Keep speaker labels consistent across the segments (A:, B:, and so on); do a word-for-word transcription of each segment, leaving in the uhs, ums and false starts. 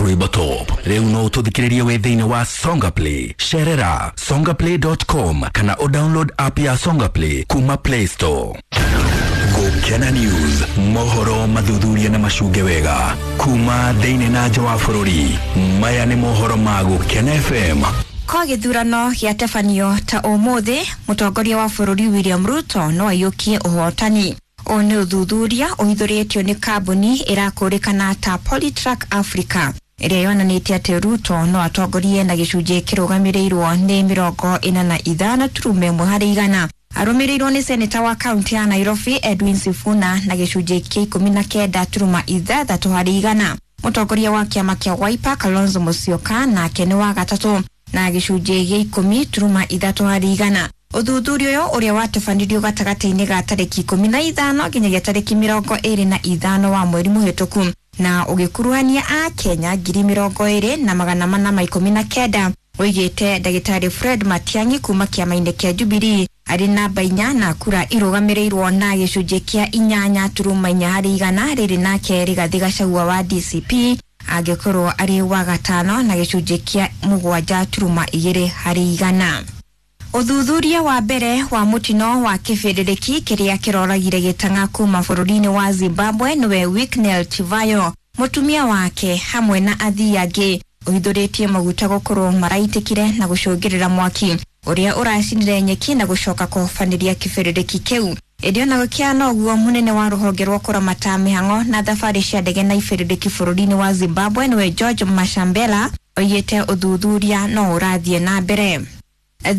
A: rwĩmbo top. Rĩu no ũtũthikĩrĩrie wĩ thĩinĩ wa Songa Play. Cerera songaplay dot com kana o download app ya Songa Play kuma Play Store. Gũkena News, mohoro mathuthuria na macunge wega kuma thĩinĩ na nja wa bũrũri. Maya nĩ mohoro ma Gũkena F M.
B: Kwa gĩthurano gĩatabanio ta ũmũthĩ, mũtongoria wa bũrũri William Ruto no aiyũkie ũhotani. Ũũ nĩ ũthuthuria ũhithũrĩtio nĩ kambuni ĩrakũrĩkana ta Polytrack Africa ĩrĩa yonanĩtie atĩ Ruto no atongorie na gĩcunjĩ kĩrũgamĩrĩirwo nĩ mĩrongo ĩna na ithano turuma ĩmwe harĩ igana. Arũmĩrĩirwo nĩ seneta wa kaunti ya Nairobi Edwin Sifuna na gĩcunjĩ kĩa ikũmi na kenda turuma ithathatũ harĩ igana. Mũtongoria wa kĩama kĩa Wiper Kalonzo Musyoka nake nĩ wa gatatũ na gĩcunjĩ gĩa ikũmi turuma ithatũ harĩ igana. Ũthuthuria ũyũ ũrĩa watabanirio gatagatĩ-inĩ ga tarĩki ikũmi na ithano nginyagia tarĩki mĩrongo ĩrĩ na ithano wa mweri mũhĩtũku na ũgĩkuruhania a Kenya ngiri mĩrongo ĩrĩ na magana mana ma ikũmi na kenda. Oigĩte ndagĩtarĩ Fred Matiang'i kuma kĩama-inĩ kĩa Jubilee arĩ namba inya na kura irũgamĩrĩirwo na gĩcunjĩ kĩa inyanya turuma inya harĩ igana. Rĩrĩ nake Rigathĩ Gachagua wa D C P angĩkorwo arĩ wa gatano na gĩcunjĩ kĩa mũgwanja turuma igĩrĩ harĩ igana. Ũthuthuria wa mbere wa mũtino wa kĩbĩrĩrĩki kĩrĩa kĩroragire gĩtang'a kuma bũrũri-inĩ wa Zimbabwe nĩwe Wicknell Chivayo, mũtumia wake hamwe na athii angĩ ũhithũrĩtie maguta gũkorwo maraitĩkire na gũcũngĩrĩra mwaki ũrĩa ũracinire nyeki na gũcoka kũhobanĩria kĩbĩrĩrĩki kĩu. Ĩndĩ ona gũkĩana ũguo, mũnene wa rũhonge rwa kũramata mĩhang'o na thabarĩ cia ndege na ibĩrĩrĩki bũrũri-inĩ wa Zimbabwe nĩwe George Mashambela oigĩte ũthuthuria no ũrathiĩ na mbere.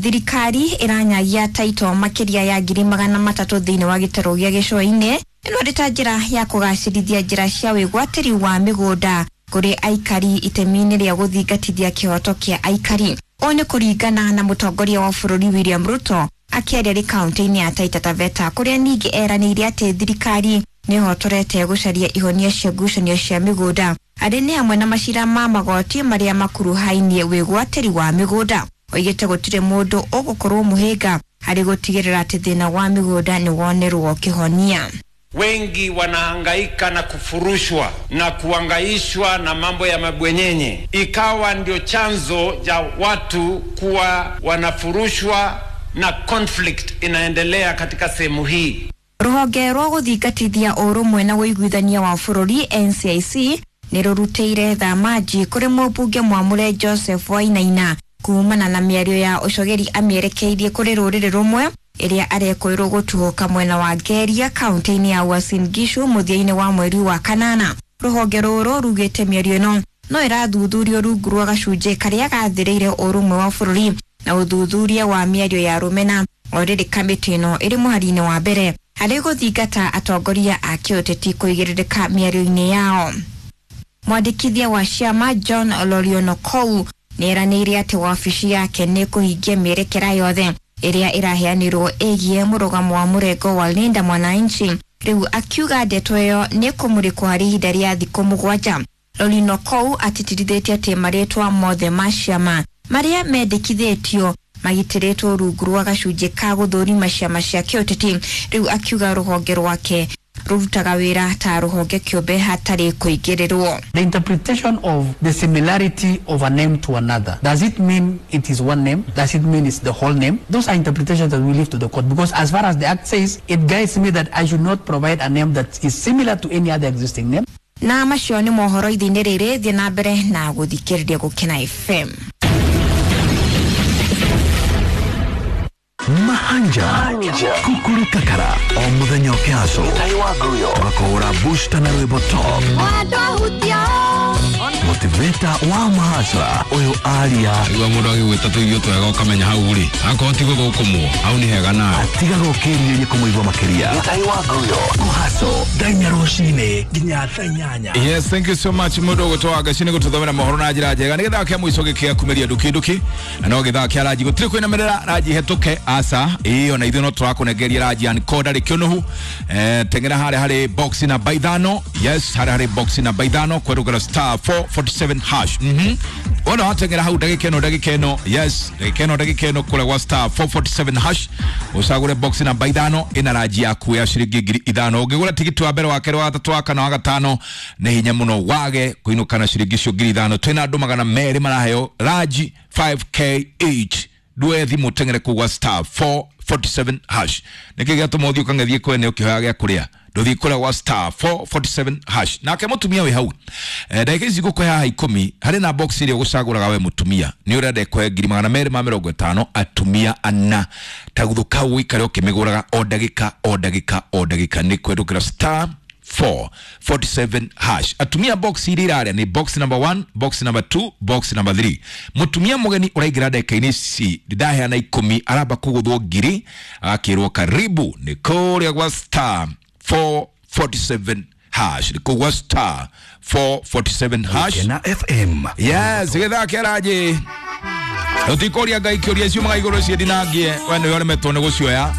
B: Thirikari ĩranyagia taito makĩria ya ngiri magana matatũ thĩinĩ wa gĩtarũ gĩa gĩcũa-inĩ. Ĩno nĩ ta njĩra ya kũgacĩrithia njĩra cia wĩgwatĩri wa mĩgũnda kũrĩ aikari itemi-inĩ rĩa gũthingatithia kĩhoto kĩa aikari. Ũũ nĩ kũringana na mũtongoria wa bũrũri William Ruto akĩaria rĩ kaunti-inĩ ya Taita Taveta kũrĩa ningĩ eranĩire atĩ thirikari nĩĩhotorete gũcaria ihonia cia ngucanio cia mĩgũnda arĩ nĩ hamwe na macira ma magoti marĩa makuruhainie wĩgwatĩri wa mĩgũnda. Oigĩte gũtirĩ mũndũ ũgũkorwo mũhĩnga harĩ gũtigĩrĩra atĩ thĩna wa mĩgũnda nĩ wonerwo kĩhonia.
C: Wengi wanahangaika na kufurushwa na kuangaishwa na mambo ya mabwenyenye, ikawa ndio chanzo cha watu kuwa wanafurushwa na conflict inaendelea katika sehemu hii.
B: Rũhonge rwa gũthingatithia ũrũmwe na ũiguithania wa bũrũri N C I C nĩ rũrutĩire thamaji kũrĩ mũmbunge mwamũre Joseph Wainaina kumana na mĩario ya ũcogeri amĩerekeirie kũrĩ rũrĩrĩ rũmwe ĩrĩa arekwĩrwo gũtuhũka mwena wa Ngeria kaunti-inĩ ya Uasin Gishu mũthia-inĩ wa mweri wa kanana. Rũhonge rũrũ rugĩte mĩario ĩno no ĩrathuthurio rungu rwa gacunjĩ karĩa gathĩrĩire ũrũmwe wa bũrũri na ũthuthuria wa mĩario ya rũmena. O rĩrĩ kamĩtĩ ĩno ĩrĩ mũhari-inĩ wa mbere harĩ gũthingata atongoria a kĩũteti kũigĩrĩrĩka mĩario-inĩ yao. Mwandĩkithia wa ciama John Lorionokou nĩeranĩire atĩ wabici yake nĩ kũhingia mĩerekera yothe ĩrĩa ĩraheanirwo ĩgiĩ mũrũgamo wa mũrengo wa Linda Mwananchi. Rĩu akiuga ndeto ĩyo nĩ kũmũrĩkwo harĩ ihinda rĩa thikũ mũgwanja. Lorionokou atĩtĩrithĩtie atĩ marĩtwa mothe ma ciama marĩa mendekithĩtio magitĩrĩtwo rungu rwa gacunjĩ ka gũthũrima ciama cia kĩũteti. Rĩu akiuga rũhonge rwake rũrutaga wĩra ta rũhonge kĩũmbe hatarĩ kũingĩrĩrwo.
D: The interpretation of the similarity of a name to another, does it mean it is one name? Does it mean it's the whole name? Those are interpretations that we leave to the court, because as far as the act says, it guides me that I should not provide a name that is similar to any other existing name.
B: Na macio nĩ mohoro ithinĩ rĩrĩ, thiĩ na mbere na gũthikĩrĩria Gũkena F M.
A: Mahanja Kukuru Kakara o muthenya ũkĩaco tũgakũhũra booster na rwĩmbo top motivator wa mahasra ũyũ aria
E: rĩu mũndũ agĩgwĩta tũirio twega ũkamenya hau rĩ akorwo ti gũthũkũmwo hau nĩ hega nawe
A: atigaga ũkĩrirĩria kũmũigua makĩria kũhaco thaa inya rũcinĩ nginya thaa inyanya.
E: Yes, thank you so much mũndũ ũgũtwa Gaci nĩ gũtũthomera mohoro na njĩra njega. Nĩ gĩthaa kĩa mũico gĩkĩa kumĩria nduki nduki na no gĩthaa kĩa ranji gũtirĩ kwĩnamĩrĩra ranji hetũke aca ĩyo na ithuĩ no tũrakũnengeria ranji ya nikoda rĩkĩũnũhu. Eh, teng'era harĩa harĩ box namba ithano. Yes, harĩa harĩ box namba ithano kwerũgera star four forty-seven hash. Mhm wona wateng'era hau ndagĩka ĩno ndagĩka ĩno, yes, ndagĩka ĩno ndagĩka ĩno kũrĩa gwa star four forty-seven hash ũcagũre box namba ithano ĩna ranji yaku ya ciringi ngiri ithano. Ũngĩgũra tigiti wa mbere, wa kerĩ, wa gatatũ, wa kana, wa gatano, nĩ hinya mũno wage kũinũka na ciringi icio ngiri ithano. Twĩna andũ magana merĩ maraheo ranji five k each. Ndue thimũ teng'ere kũu gwa star four forty-seven hash. Nĩkĩ gĩatũma ũthiĩ ũkang'ethie kwene ũkĩhoya gĩa kũrĩa? Ndũthiĩ kũrĩa gwa star four forty-seven hash. Nake mũtumia wĩ hau, eh, ndagĩka ici ngũkũhe haha ikũmi, harĩ na box ĩrĩa ũgũcagũraga we mũtumia nĩ ũrenda ĩkũhe ngiri magana merĩ ma mĩrongo ĩtano atumia ana. Taguthũ kau ũikare ũkĩmĩgũraga o ndagĩka o ndagĩka o ndagĩka, nĩ kũhetũkĩra star four forty-seven hash. Atumia box iria irarĩa nĩ box number one, box number two, box number three. Mũtumia mũgeni ũraingĩra ndagĩka-inĩ ici ndaheana ikũmi aramba kũgũthwo ngiri agakĩrwo karibu nĩ kũrĩa gwa star four forty-seven hash. Nĩ kũu gwa star four forty-seven hash.
A: Gũkena F M.
E: Yes, gĩthaa kĩa ranji. Tũtikũria Ngai kĩũria ciumaga igũrũ ciĩndinangie, we nĩwe ũremetwo nĩ gũcioya.